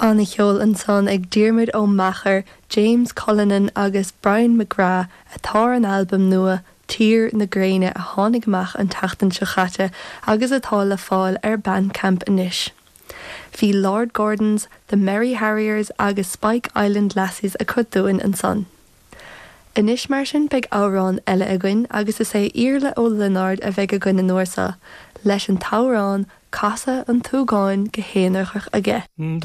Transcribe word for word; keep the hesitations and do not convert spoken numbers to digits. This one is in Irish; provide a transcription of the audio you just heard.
An-cheol ansan ag Diarmuid Ó Meachair, James Cullinan agus Brian McGrath atá ar an albam nua Tír na Gréine a tháinig amach an tseachtain seo caite agus atá le fáil ar Bandcamp anois. Bhí Lord Gordons, The Merry Harriers agus Spike Island Lassies acu dúinn ansan. Anois mar sin beidh amhrán eile againn agus is é Iarla Ó Lionáird a bheidh againn an uair seo, leis an t-amhrán Casadh an tSúgáin go haonarach aige.